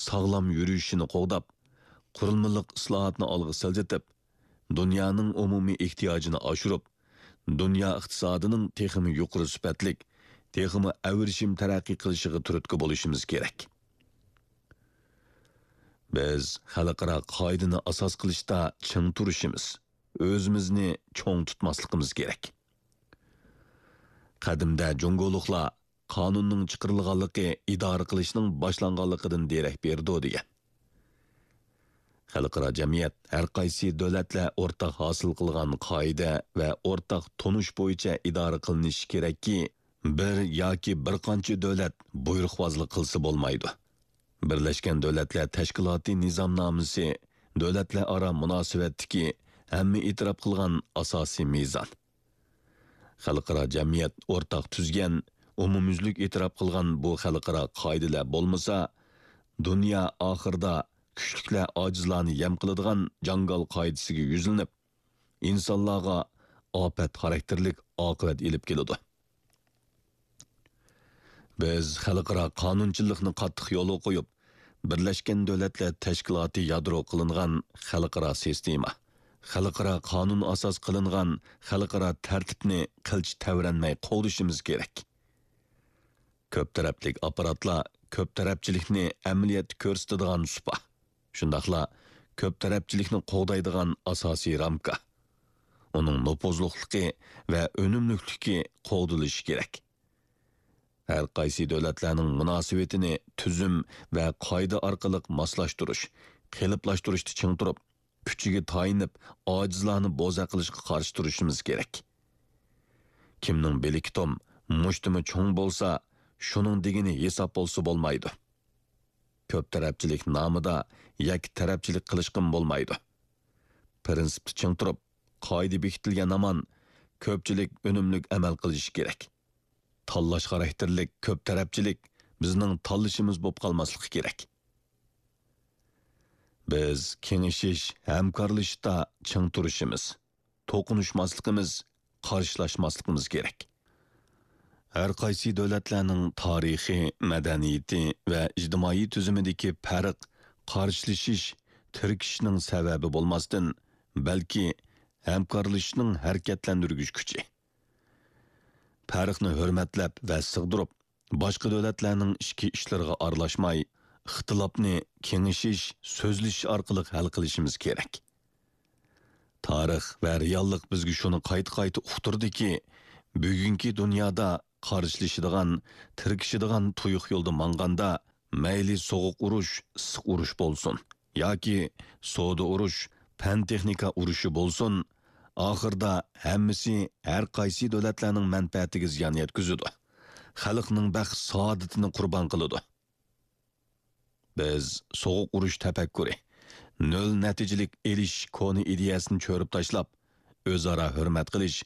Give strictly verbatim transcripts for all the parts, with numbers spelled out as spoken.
ساغلام يۈرۈشىنى قوغداپ، قۇرۇلمىلىق ئىسلاھاتنى ئالغا سىلجىتىپ، دۇنيانىڭ ئومۇمىي ئېھتىياجىنى ئاشۇرۇپ، دۇنيا ئىقتىسادىنىڭ تېخىمۇ يۇقىرى سۈپەتلىك، تېخىمۇ ئەۋرىشىم تەرەققىي قىلىشىغا تۈرتكە بولۇشىمىز كېرەك. بىز خەلقئارا قائىدىنى ئاساس قىلىشتا چىڭ تۇرۇشىمىز، ئۆزىمىزنى چوڭ تۇتماسلىقىمىز كېرەك. قەدىمدە جۇڭگولۇقلار قانۇننىڭ چىقىرىلغانلىقى ئىدارە قىلىشنىڭ باشلانغانلىقىدىن دېرەك بېرىدۇ دېگەن. خەلقئارا جەمئىيەت ھەر قايسى دۆلەتلەر ئورتاق ھاسىل قىلغان قائىدە ۋە ئورتاق تونۇش بويىچە ئىدارە قىلىنىشى كېرەككى، بىر ياكى بىر قانچە دۆلەت بۇيرۇقۋازلىق قىلسا بولمايدۇ. بىرلەشكەن دۆلەتلەر تەشكىلاتى نىزامنامىسى دۆلەتلەر ئارا مۇناسىۋەتتىكى ھەممە ئېتىراپ قىلغان ئاساسىي مىزان. خەلقئارا جەمئىيەت ئورتاق تۈزگەن، ئومۇميۈزلۈك ئېتىراپ قىلغان بۇ خەلقئارا قائىدىلەر بولمىسا، دۇنيا ئاخىرىدا كۈچلۈكلەر ئاجىزلارنى يەم قىلىدىغان جاڭگال قائىدىسىگە يۈزلىنىپ، ئىنسانلارغا ئاپەت خاراكتېرلىك ئاقىۋەت ئېلىپ كېلىدۇ. بىز خەلقئارا قانۇنچىلىقنى قاتتىق يولغا قويۇپ، بىرلەشكەن دۆلەتلەر تەشكىلاتى يادرو قىلىنغان خەلقئارا سىستېما، خەلقئارا قانۇن ئاساس قىلىنغان خەلقئارا تەرتىپنى قىلچە تەۋرەنمەي قوغدىشىمىز كېرەك. كۆپ تەرەپلىك ئاپپاراتلار كۆپ تەرەپچىلىكنى ئەمەلىيەتتە كۆرسىتىدىغان سۇپا، شۇنداقلا كۆپ تەرەپچىلىكنى قوغدايدىغان ئاساسىي رامكا. ئۇنىڭ نوپۇزلۇقلۇقى ۋە ئۈنۈملۈكلۈكى قوغدىلىشى كېرەك. ھەر قايسى دۆلەتلەرنىڭ مۇناسىۋىتىنى تۈزۈم ۋە قائىدە ئارقىلىق ماسلاشتۇرۇش، قېلىپلاشتۇرۇشتا چىڭ تۇرۇپ، كۈچىگە تايىنىپ، ئاجىزلارنى بوزەك قىلىشقا قارشى تۇرۇشىمىز كېرەك. كىمنىڭ بىلىكى توم، مۇشتۇمى چوڭ بولسا، شۇنىڭ دېگىنى ھېساب بولسا بولمايدۇ. كۆپ تەرەپچىلىك نامىدا يەككە تەرەپچىلىك قىلىشقىمۇ بولمايدۇ. پىرىنسىپتا چىڭ تۇرۇپ، قائىدە بېكىتىلگەن ھامان كۆپچىلىك ئۈنۈملۈك ئەمەل قىلىشى كېرەك. تاللاش خاراكتېرلىك كۆپ تەرەپچىلىك بىزنىڭ تاللىشىمىز بولۇپ قالماسلىقى كېرەك. بىز كېڭىشىش، ھەمكارلىشىشتا چىڭ تۇرۇشىمىز، توقۇنۇشماسلىقىمىز، قارشىلاشماسلىقىمىز كېرەك. ھەر قايسى دۆلەتلەرنىڭ تارىخى، مەدەنىيىتى ۋە ئىجتىمائىي تۈزۈمىدىكى پەرق قارشىلىشىش، تىركىشىشنىڭ سەۋەبى بولماستىن، بەلكى ھەمكارلىشىشنىڭ ھەرىكەتلەندۈرگۈچ كۈچى. پەرقنى ھۆرمەتلەپ ۋە سىغدۇرۇپ، باشقا دۆلەتلەرنىڭ ئىچكى ئىشلىرىغا ئارىلاشماي، ئىختىلاپنى كېڭىشىش، سۆزلىشىش ئارقىلىق ھەل قىلىشىمىز كېرەك. تارىخ ۋە رېئاللىق بىزگە شۇنى قايتا-قايتا ئۇقتۇردىكى، بۈگۈنكى دۇنيادا قارشىلىشىدىغان، تىركىشىدىغان تۇيۇق يولدا ماڭغاندا، مەيلى سوغۇق ئۇرۇش، ئىسسىق ئۇرۇش بولسۇن ياكى سودا ئۇرۇش، پەن-تېخنىكا ئۇرۇشى بولسۇن، ئاخىرىدا ھەممىسى ھەر قايسى دۆلەتلەرنىڭ مەنپەئەتىگە زىيان يەتكۈزىدۇ. خەلقنىڭ بەخت-سائادىتىنى قۇربان قىلىدۇ. بىز سوغۇق ئۇرۇش تەپەككۇرى، نۆل نەتىجىلىك ئېلىشىش كونا ئىدىيەسىنى چۆرۈپ تاشلاپ، ئۆزئارا ھۆرمەت قىلىش،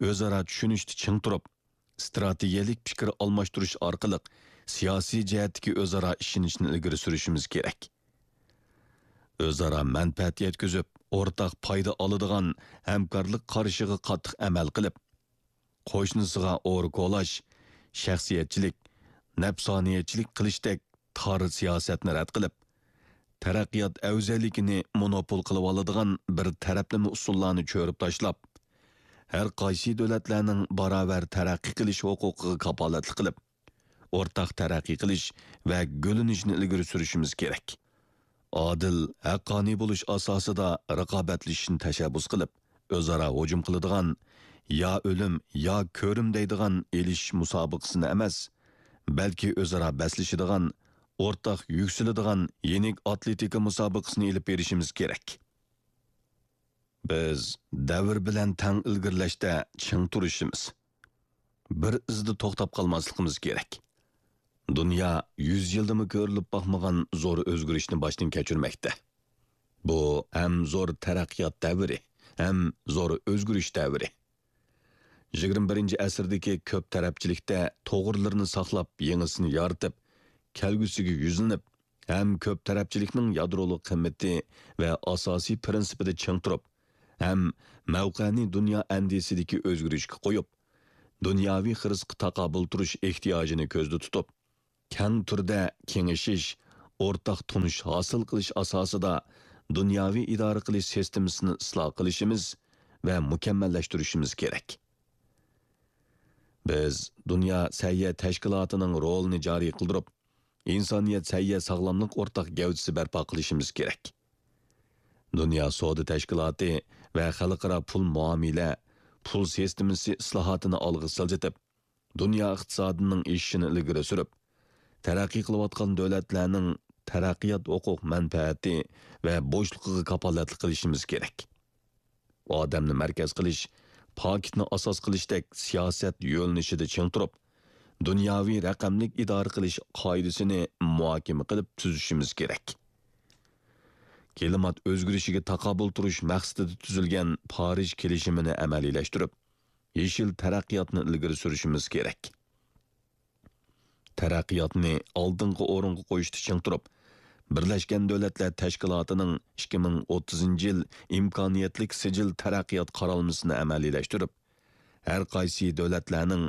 ئۆزئارا چۈشىنىشتە چىڭ تۇرۇپ، ئىستراتېگىيەلىك پىكىر ئالماشتۇرۇش ئارقىلىق سىياسىي جەھەتتىكى ئۆزئارا ئىشىنىشنى ئىلگىرى سۈرۈشىمىز كېرەك. ئۆزئارا مەنپەئەت يەتكۈزۈپ، ئورتاق پايدا ئالىدىغان ھەمكارلىق قارىشىغا قاتتىق ئەمەل قىلىپ، قوشنىسىغا ئورا كولاش، شەخسىيەتچىلىك، نەپسانىيەتچىلىك قىلىشتەك تار سىياسەتنى رەت قىلىپ، تەرەققىيات ئەۋزەللىكىنى مونوپول قىلىۋالىدىغان بىر تەرەپلىمە ئۇسۇللارنى چۆرۈپ تاشلاپ، ھەر قايسى دۆلەتلەرنىڭ باراۋەر تەرەققىي قىلىش ھوقۇقىغا كاپالەتلىك قىلىپ، ئورتاق تەرەققىي قىلىش ۋە گۈللىنىشنى ئىلگىرى سۈرۈشىمىز كېرەك. ئادىل، ھەققانىي بولۇش ئاساسىدا رىقابەتلىشىشنى تەشەببۇس قىلىپ، ئۆزئارا ھۇجۇم قىلىدىغان، يا ئۆلۈم، يا كۆرۈم دەيدىغان ئېلىشىش مۇسابىقىسىنى ئەمەس، بەلكى ئۆزئارا بەسلىشىدىغان، ئورتاق يۈكسىلىدىغان يېنىك ئاتلېتىكا مۇسابىقىسىنى ئېلىپ بېرىشىمىز كېرەك. بىز دەۋر بىلەن تەڭ ئىلگىرىلەشتە چىڭ تۇرۇشىمىز، بىر ئىزدا توختاپ قالماسلىقىمىز كېرەك. دۇنيا يۈز يىلدىمۇ كۆرۈلۈپ باقمىغان زور ئۆزگىرىشنى باشتىن كەچۈرمەكتە. بۇ ھەم زور تەرەققىيات دەۋرى، ھەم زور ئۆزگىرىش دەۋرى. يىگىرمە بىرىنچى ئەسىردىكى كۆپ تەرەپچىلىكتە توغرىلىرىنى ساقلاپ، يېڭىسىنى يارىتىپ، كەلگۈسىگە يۈزلىنىپ، ھەم كۆپ تەرەپچىلىكنىڭ يادرولۇق قىممىتى ۋە ئاساسىي پىرىنسىپىدا چىڭ تۇرۇپ، ھەم مەۋقەنى دۇنيا ئەندىزىسىدىكى ئۆزگىرىشكە قويۇپ، دۇنياۋى خىرىسقا تاقابىل تۇرۇش ئېھتىياجىنى كۆزدە تۇتۇپ، كەڭ تۈردە كېڭىشىش، ئورتاق تونۇش ھاسىل قىلىش ئاساسىدا دۇنياۋى ئىدارە قىلىش سىستېمىسىنى ئىسلاھ قىلىشىمىز ۋە مۇكەممەللەشتۈرۈشىمىز كېرەك. بىز دۇنيا سەھىيە تەشكىلاتىنىڭ رولىنى جارى قىلدۇرۇپ، ئىنسانىيەت سەھىيە ساغلاملىق ئورتاق گەۋدىسى بەرپا قىلىشىمىز كېرەك. دۇنيا سودا تەشكىلاتى ۋە خەلقئارا پۇل مۇئامىلە، پۇل سىستېمىسى ئىسلاھاتىنى ئالغا سىلجىتىپ، دۇنيا ئىقتىسادىنىڭ ئېشىشىنى ئىلگىرى سۈرۈپ، تەرەققىي قىلىۋاتقان دۆلەتلەرنىڭ تەرەققىيات ھوقۇق مەنپەئەتى ۋە بوشلۇقىغا كاپالەتلىك قىلىشىمىز كېرەك. ئادەمنى مەركەز قىلىش، پاكىتنى ئاساس قىلىشتەك سىياسەت يۆنىلىشىدە چىڭ تۇرۇپ، دۇنياۋى رەقەملىك ئىدارە قىلىش قائىدىسىنى مۇھاكىمە قىلىپ تۈزۈشىمىز كېرەك. كىلىمات ئۆزگىرىشىگە تاقابىل تۇرۇش مەقسىتىدە تۈزۈلگەن پارىژ كېلىشىمىنى ئەمەلىيلەشتۈرۈپ، يېشىل تەرەققىياتنى ئىلگىرى سۈرۈشىمىز كېرەك. تەرەققىياتنى ئالدىنقى ئورۇنغا قويۇشتا چىڭ تۇرۇپ، بىرلەشكەن دۆلەتلەر تەشكىلاتىنىڭ ئىككى مىڭ ئوتتۇزىنچى يىل ئىمكانىيەتلىك سىجىل تەرەققىيات قارالمىسىنى ئەمەلىيلەشتۈرۈپ، ھەر قايسى دۆلەتلەرنىڭ،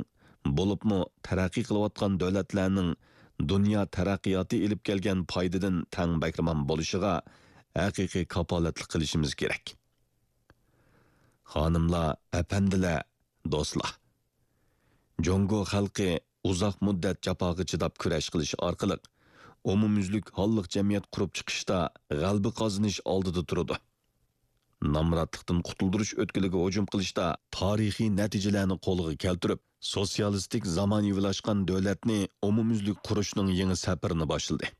بولۇپمۇ تەرەققىي قىلىۋاتقان دۆلەتلەرنىڭ دۇنيا تەرەققىياتى ئېلىپ كەلگەن پايدىدىن تەڭ بەھرىمەن بولۇشىغا ھەقىقىي كاپالەتلىك قىلىشىمىز كېرەك. خانىملار، ئەپەندىلەر، دوستلار! جۇڭگو خەلقى ئۇزاق مۇددەت جاپاغا چىداپ كۈرەش قىلىش ئارقىلىق ئومۇميۈزلۈك ھاللىق جەمئىيەت قۇرۇپ چىقىشتا غەلىبە قازىنىش ئالدىدا تۇرىدۇ. نامراتلىقتىن قۇتۇلدۇرۇش ئۆتكىلىگە ھۇجۇم قىلىشتا تارىخىي نەتىجىلەرنى قولغا كەلتۈرۈپ، سوتسىيالىستىك زامانىۋىلاشقان دۆلەتنى ئومۇميۈزلۈك قۇرۇشنىڭ يېڭى سەپىرىنى باشلىدى.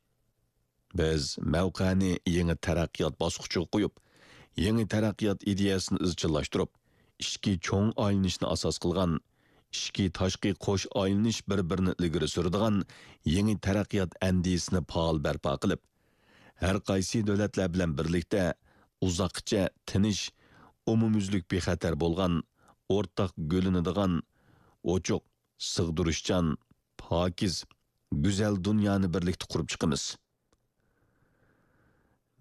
بىز مەۋقەنى يېڭى تەرەققىيات باسقۇچىغا قويۇپ، يېڭى تەرەققىيات ئىدىيەسىنى ئىزچىللاشتۇرۇپ، ئىچكى چوڭ ئايلىنىشنى ئاساس قىلغان، ئىچكى تاشقى قوش ئايلىنىش بىر-بىرىنى ئىلگىرى سۈرىدىغان يېڭى تەرەققىيات ئەندىزىسىنى پائال بەرپا قىلىپ، ھەر قايسى دۆلەتلەر بىلەن بىرلىكتە ئۇزاققىچە تىنچ، ئومۇميۈزلۈك بىخەتەر بولغان، ئورتاق گۈللىنىدىغان، ئوچۇق، سىغدۇرۇشچان، پاكىز، گۈزەل دۇنيانى بىرلىكتە قۇرۇپ چىقىمىز.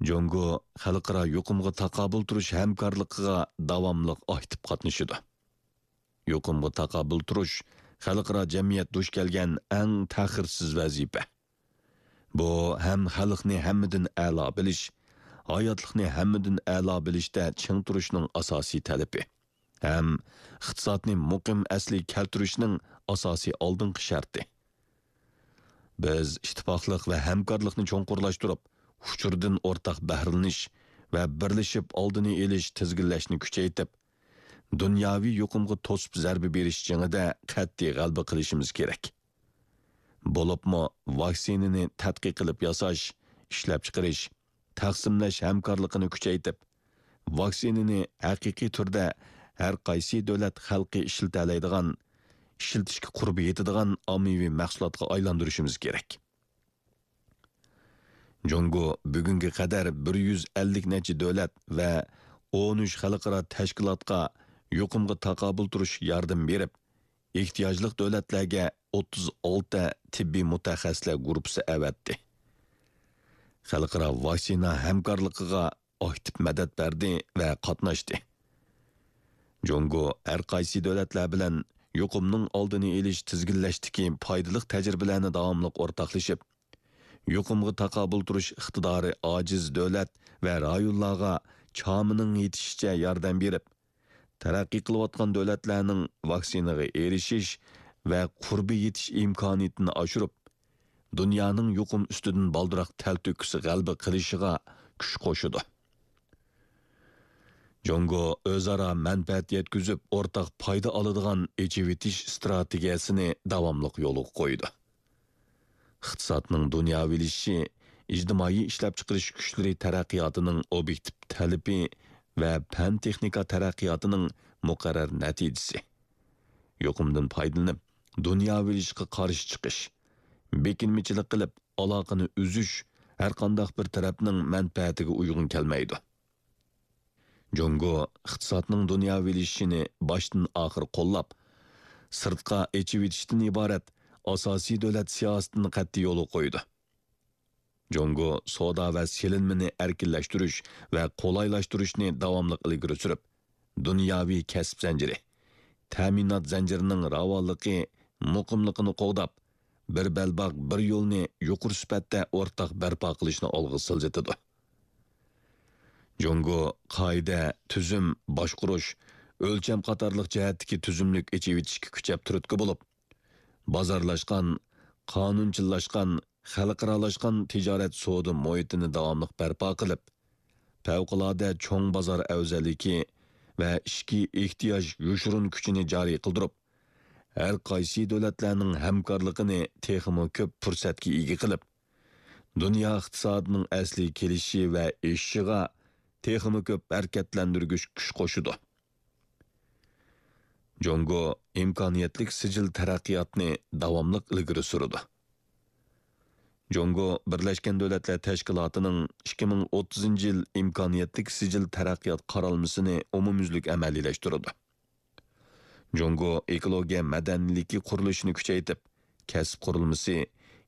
جۇڭگو خەلقئارا يۇقۇمغا تاقابىل تۇرۇش ھەمكارلىقىغا داۋاملىق ئاكتىپ قاتنىشىدۇ. يۇقۇمغا تاقابىل تۇرۇش خەلقئارا جەمئىيەت دۇچ كەلگەن ئەڭ تەخىرسىز ۋەزىپە. بۇ ھەم خەلقنى ھەممىدىن ئەلا بىلىش، ھاياتلىقنى ھەممىدىن ئەلا بىلىشتە چىڭ تۇرۇشنىڭ ئاساسىي تەلىپى، ھەم ئىقتىسادنى مۇقىم ئەسلىگە كەلتۈرۈشنىڭ ئاساسىي ئالدىنقى شەرتى. بىز ئىتتىپاقلىق ۋە ھەمكارلىقنى چوڭقۇرلاشتۇرۇپ، ئۇچۇردىن ئورتاق بەھرىلىنىش ۋە بىرلىشىپ ئالدىنى ئېلىش، تىزگىنلەشنى كۈچەيتىپ، دۇنياۋى يۇقۇمغا توسۇپ زەربە بېرىش جېڭىدە قەتئىي غەلىبە قىلىشىمىز كېرەك. بولۇپمۇ ۋاكسىنىنى تەتقىق قىلىپ ياساش، ئىشلەپچىقىرىش، تەقسىملەش ھەمكارلىقىنى كۈچەيتىپ، ۋاكسىنىنى ھەقىقىي تۈردە ھەر قايسى دۆلەت خەلقى ئىشلىتەلەيدىغان، ئىشلىتىشكە قۇربى يېتىدىغان ئاممىۋى مەھسۇلاتقا ئايلاندۇرۇشىمىز كېرەك. جۇڭگو بۈگۈنگە قەدەر بىر يۈز ئەللىك نەچچە دۆلەت ۋە ئون ئۈچ خەلقئارا تەشكىلاتقا يۇقۇمغا تاقابىل تۇرۇش ياردىمى بېرىپ، ئېھتىياجلىق دۆلەتلەرگە ئوتتۇز ئالتە تېببىي مۇتەخەسسىسلەر گۇرۇپپىسى ئەۋەتتى. خەلقئارا ۋاكسىنا ھەمكارلىقىغا ئاكتىپ مەدەت بەردى ۋە قاتناشتى. جۇڭگو ھەر قايسى دۆلەتلەر بىلەن يۇقۇمنىڭ ئالدىنى ئېلىش، تىزگىنلەشتىكى پايدىلىق تەجرىبىلەرنى داۋاملىق ئورتاقلىشىپ، يۇقۇمغا تاقابىل تۇرۇش ئىقتىدارى ئاجىز دۆلەت ۋە رايونلارغا چامىنىڭ يېتىشىچە ياردەم بېرىپ، تەرەققىي قىلىۋاتقان دۆلەتلەرنىڭ ۋاكسىنىغا ئېرىشىش ۋە قۇربى يېتىش ئىمكانىيىتىنى ئاشۇرۇپ، دۇنيانىڭ يۇقۇم ئۈستىدىن بالدۇرراق تەلتۆكۈس غەلىبە قىلىشىغا كۈچ قوشىدۇ. جۇڭگو ئۆزئارا مەنپەئەت يەتكۈزۈپ، ئورتاق پايدا ئالىدىغان ئېچىۋېتىش ئىستراتېگىيەسىنى داۋاملىق يولغا قويىدۇ. ئىقتىسادنىڭ دۇنياۋىلىشىشى ئىجتىمائىي ئىشلەپچىقىرىش كۈچلىرى تەرەققىياتىنىڭ ئوبيېكتىپ تەلىپى ۋە پەن-تېخنىكا تەرەققىياتىنىڭ مۇقەررەر نەتىجىسى. يۇقۇمدىن پايدىلىنىپ، دۇنياۋىلىشىشقا قارشى چىقىش، بېكىنمىچىلىك قىلىپ، ئالاقىنى ئۈزۈش ھەرقانداق بىر تەرەپنىڭ مەنپەئەتىگە ئۇيغۇن كەلمەيدۇ. جۇڭگو ئىقتىسادنىڭ دۇنياۋىلىشىشىنى باشتىن ئاخىر قوللاپ، سىرتقا ئېچىۋېتىشتىن ئىبارەت ئاساسىي دۆلەت سىياسىتىنى قەتئىي يولغا قويىدۇ. جۇڭگو سودا ۋە سېلىنمىنى ئەركىنلەشتۈرۈش ۋە قولايلاشتۇرۇشنى داۋاملىق ئىلگىرى سۈرۈپ، دۇنياۋى كەسىپ زەنجىرى، تەمىنات زەنجىرىنىڭ راۋانلىقى، مۇقىملىقىنى قوغداپ، بىر بەلباغ، بىر يولنى يۇقىرى سۈپەتتە ئورتاق بەرپا قىلىشنى ئالغا سىلجىتىدۇ. جۇڭگو قائىدە، تۈزۈم، باشقۇرۇش، ئۆلچەم قاتارلىق جەھەتتىكى تۈزۈملۈك ئېچىۋېتىشكە كۈچەپ تۈرتكە بولۇپ، بازارلاشقان، قانۇنچىللاشقان، خەلقئارالاشقان تىجارەت سودا مۇھىتىنى داۋاملىق بەرپا قىلىپ، پەۋقۇلئاددە چوڭ بازار ئەۋزەللىكى ۋە ئىچكى ئېھتىياج يوشۇرۇن كۈچىنى جارى قىلدۇرۇپ، ھەر قايسى دۆلەتلەرنىڭ ھەمكارلىقىنى تېخىمۇ كۆپ پۇرسەتكە ئىگە قىلىپ، دۇنيا ئىقتىسادىنىڭ ئەسلىگە كېلىشى ۋە ئېشىشىغا تېخىمۇ كۆپ ھەرىكەتلەندۈرگۈچ كۈچ قوشىدۇ. جۇڭگو ئىمكانىيەتلىك سىجىل تەرەققىياتنى داۋاملىق ئىلگىرى سۈرىدۇ. جۇڭگو بىرلەشكەن دۆلەتلەر تەشكىلاتىنىڭ ئىككى مىڭ ئوتتۇزىنچى يىل ئىمكانىيەتلىك سىجىل تەرەققىيات قارالمىسىنى ئومۇميۈزلۈك ئەمەلىيلەشتۈرىدۇ. جۇڭگو ئېكولوگىيە مەدەنىيلىكى قۇرۇلۇشىنى كۈچەيتىپ، كەسىپ قۇرۇلمىسى،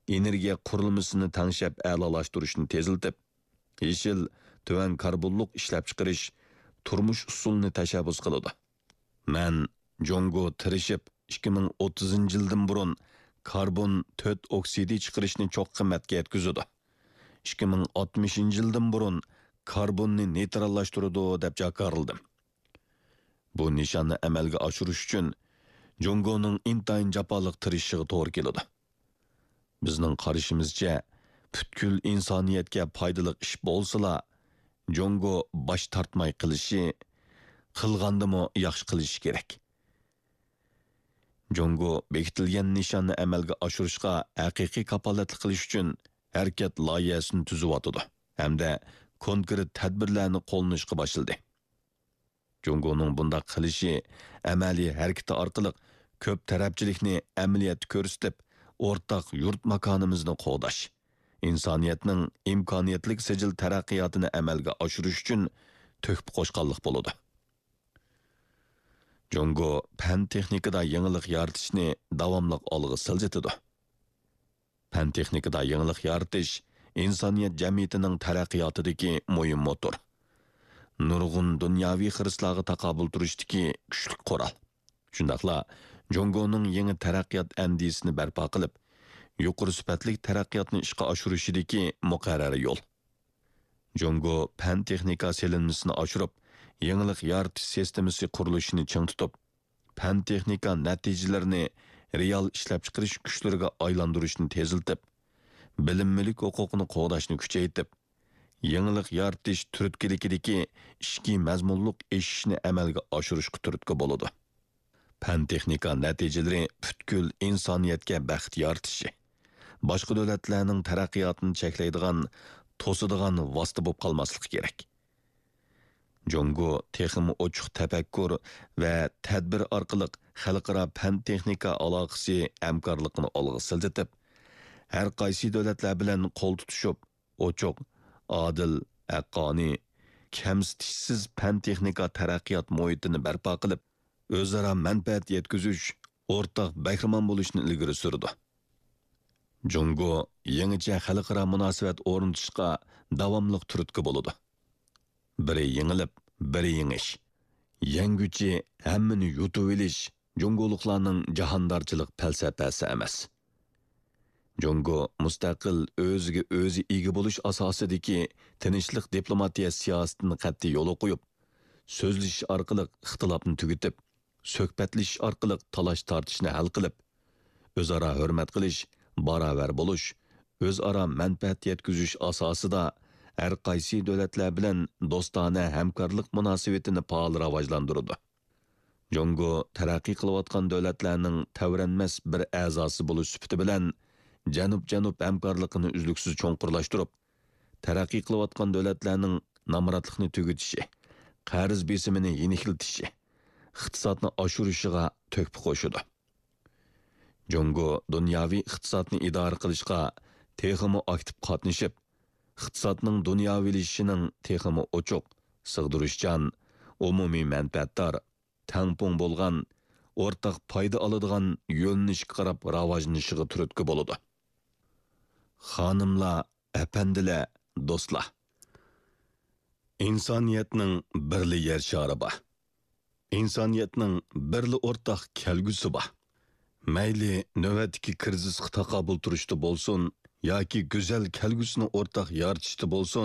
ئېنېرگىيە قۇرۇلمىسىنى تەڭشەپ ئەلالاشتۇرۇشنى تېزلىتىپ، يېشىل، تۆۋەن كاربونلۇق ئىشلەپچىقىرىش، تۇرمۇش ئۇسۇلىنى تەشەببۇس قىلىدۇ. مەن جۇڭگو تىرىشىپ، ئىككى مىڭ ئوتتۇزىنچى يىلدىن بۇرۇن كاربون تۆت ئوكسىدى چىقىرىشنى چوققا قىممەتكە يەتكۈزىدۇ. ئىككى مىڭ ئاتمىشىنچى يىلدىن بۇرۇن كاربوننى نېيتراللاشتۇرىدۇ، دەپ جاكارلىدىم. بۇ نىشاننى ئەمەلگە ئاشۇرۇش ئۈچۈن جۇڭگونىڭ ئىنتايىن جاپالىق تىرىشىشىغا توغرا كېلىدۇ. بىزنىڭ قارىشىمىزچە، پۈتكۈل ئىنسانىيەتكە پايدىلىق ئىش بولسىلا، جۇڭگو باش تارتماي قىلىشى، قىلغاندىمۇ ياخشى قىلىشى كېرەك. جۇڭگو بېكىتىلگەن نىشاننى ئەمەلگە ئاشۇرۇشقا ھەقىقىي كاپالەتلىك قىلىش ئۈچۈن ھەرىكەت لايىھەسىنى تۈزۈۋاتىدۇ ھەمدە كونكرېت تەدبىرلەرنى قوللىنىشقا باشلىدى. جۇڭگونىڭ بۇنداق قىلىشى ئەمەلىي ھەرىكىتى ئارقىلىق كۆپ تەرەپچىلىكنى ئەمەلىيەتتە كۆرسىتىپ، ئورتاق يۇرت ماكانىمىزنى قوغداش، ئىنسانىيەتنىڭ ئىمكانىيەتلىك سىجىل تەرەققىياتىنى ئەمەلگە ئاشۇرۇش ئۈچۈن تۆھپە قوشقانلىق بولىدۇ. جۇڭگو پەن-تېخنىكىدا يېڭىلىق يارىتىشنى داۋاملىق ئالغا سىلجىتىدۇ. پەن-تېخنىكىدا يېڭىلىق يارىتىش ئىنسانىيەت جەمئىيىتىنىڭ تەرەققىياتىدىكى مۇھىم موتور. نۇرغۇن دۇنياۋى خىرىسلارغا تاقابىل تۇرۇشتىكى كۈچلۈك قورال. شۇنداقلا جۇڭگونىڭ يېڭى تەرەققىيات ئەندىزىسىنى بەرپا قىلىپ، يۇقىرى سۈپەتلىك تەرەققىياتنى ئىشقا ئاشۇرۇشىدىكى مۇقەررەر يول. جۇڭگو پەن-تېخنىكا سېلىنمىسىنى ئاشۇرۇپ، يېڭىلىق يارىتىش سىستېمىسى قۇرۇلۇشىنى چىڭ تۇتۇپ، پەن-تېخنىكا نەتىجىلىرىنى رېئال ئىشلەپچىقىرىش كۈچلىرىگە ئايلاندۇرۇشنى تېزلىتىپ، بىلىم مۈلۈك ھوقۇقىنى قوغداشنى كۈچەيتىپ، يېڭىلىق يارىتىش تۈرتكىلىكىدىكى ئىچكى مەزمۇنلۇق ئېشىشنى ئەمەلگە ئاشۇرۇشقا تۈرتكە بولىدۇ. پەن-تېخنىكا نەتىجىلىرى پۈتكۈل ئىنسانىيەتكە بەخت يارىتىشى، باشقا دۆلەتلەرنىڭ تەرەققىياتىنى چەكلەيدىغان، توسىدىغان ۋاسىتە بولۇپ قالماسلىقى كېرەك. جۇڭگو تېخىمۇ ئوچۇق تەپەككۇر ۋە تەدبىر ئارقىلىق خەلقئارا پەن-تېخنىكا ئالاقىسى ھەمكارلىقىنى ئالغا سىلجىتىپ، ھەر قايسى دۆلەتلەر بىلەن قول تۇتۇشۇپ، ئوچۇق، ئادىل، ھەققانىي، كەمسىتىشسىز پەن-تېخنىكا تەرەققىيات مۇھىتىنى بەرپا قىلىپ، ئۆزئارا مەنپەئەت يەتكۈزۈش، ئورتاق بەھرىمەن بولۇشنى ئىلگىرى سۈرىدۇ. جۇڭگو يېڭىچە خەلقئارا مۇناسىۋەت ئورنىتىشقا داۋاملىق تۈرتكە بولىدۇ. بىرى يېڭىلىپ، بىرى يېڭىش. يەڭگۈچى ھەممىنى يۇتۇۋېلىش جۇڭگولۇقلارنىڭ جاھاندارچىلىق پەلسەپەسى ئەمەس. جۇڭگو مۇستەقىل، ئۆزىگە ئۆزى ئىگە بولۇش ئاساسىدىكى تىنچلىق دىپلوماتىيە سىياسىتىنى قەتئىي يولغا قويۇپ، سۆزلىشىش ئارقىلىق ئىختىلاپنى تۈگىتىپ، سۆھبەتلىشىش ئارقىلىق تالاش-تارتىشنى ھەل قىلىپ، ئۆزئارا ھۆرمەت قىلىش، باراۋەر بولۇش، ئۆزئارا مەنپەئەت يەتكۈزۈش ئاساسىدا ھەر قايسى دۆلەتلەر بىلەن دوستانە ھەمكارلىق مۇناسىۋىتىنى پائال راۋاجلاندۇرىدۇ. جۇڭگو تەرەققىي قىلىۋاتقان دۆلەتلەرنىڭ تەۋرەنمەس بىر ئەزاسى بولۇش سۈپىتى بىلەن، جەنۇب-جەنۇب ھەمكارلىقىنى ئۈزلۈكسىز چوڭقۇرلاشتۇرۇپ، تەرەققىي قىلىۋاتقان دۆلەتلەرنىڭ نامراتلىقنى تۈگىتىشى، قەرز بېسىمىنى يېنىكلىتىشى، ئىقتىسادنى ئاشۇرۇشىغا تۆھپە قوشىدۇ. جۇڭگو دۇنياۋى ئىقتىسادنى ئىدارە قىلىشقا تېخىمۇ ئاكتىپ قاتنىشىپ، ئىقتىسادنىڭ دۇنياۋىلىشىشىنىڭ تېخىمۇ ئوچۇق، سىغدۇرۇشچان، ئومۇمىي مەنپەئەتدار، تەڭپۇڭ بولغان، ئورتاق پايدا ئالىدىغان يۆنىلىشكە قاراپ راۋاجلىنىشىغا تۈرتكە بولىدۇ. خانىملار، ئەپەندىلەر، دوستلار! ئىنسانىيەتنىڭ بىرلا يەر شارى بار. ئىنسانىيەتنىڭ بىرلا ئورتاق كەلگۈسى بار. مەيلى نۆۋەتتىكى كىرىزىسقا تاقابىل تۇرۇشتا بولسۇن ياكى گۈزەل كەلگۈسىنى ئورتاق يارىتىشتا بولسۇن،